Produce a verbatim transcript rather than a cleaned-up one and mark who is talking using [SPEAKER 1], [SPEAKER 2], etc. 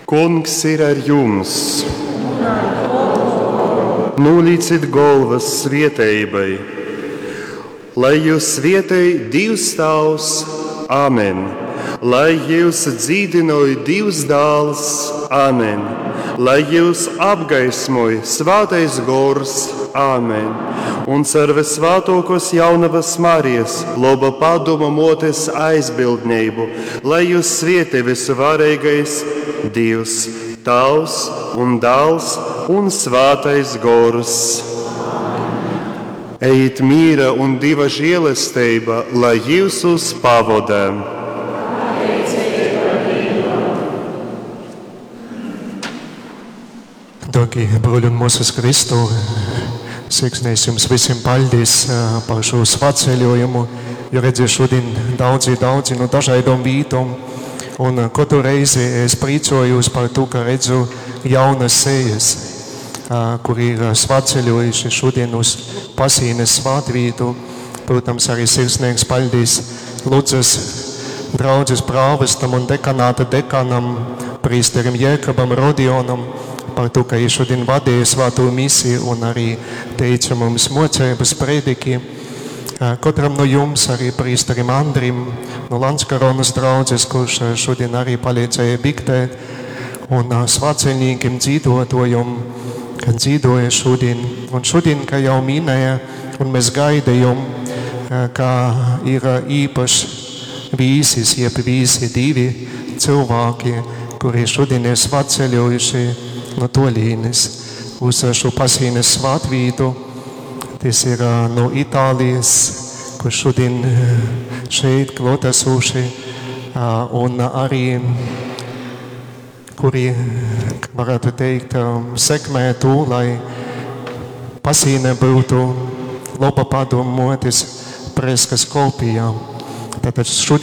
[SPEAKER 1] Kungs ir ar jums! Nūlīcit golvas svieteibai, lai jūs svietej Dīvs Tāvs, Āmen! Lai jūs dzīdynoj Dīvs Dāls, Āmen! Lai jūs apgaismoj Svātais Gors, Āmen! Un car visvātōkos jaunavas Marijas, loba padoma motes aizbildneibu, lai jūs svietej visuvarīgais Dievs, Tāvs un Dāls un Svātais Gors. Ejiet mīra un Dieva žēlestība, lai jūs pavoda.
[SPEAKER 2] Dārgie bruļi un māsas Kristu, sirsnīgs jums visiem paldies par šo svētceļojumu, jo redziet šodien daudzi, daudzi no dažādām vītām. Un katru reizi es priecājos par to, ka redzu jaunas sejas, kuri ir svētceļojuši šodien uz Pasīnes svētvītu. Protams, arī sirsnīgs paldies Ludzas draudzes prāvestam un dekanāta dekanam, prīsterim Jēkabam Rodionam, par to, ka viņš šodien vadīja svēto misiju un arī teica mums mocības prediki. Katram no jums, arī prīsterim Andrim no Landskaronas draudzes, kurš šodien arī palīdzēja biktēt, un svētceļniekiem dzīvotājiem, kad dzīvoja šodien. Un šodien, kā jau minēja, un mēs gaidījām, ka ir īpašs vīsis, jeb vīsi divi cilvēki, kuri šodien ir svētceļojuši no tolīnes uz šo Pasīnes svētvītu. Tas ir no Itālijas, kur šodien šeit klātesoši, un arī, kuri, varētu teikt, sekmē to, lai Pasīne būtu laba padomu motes preskas kopijā. Tātad šodien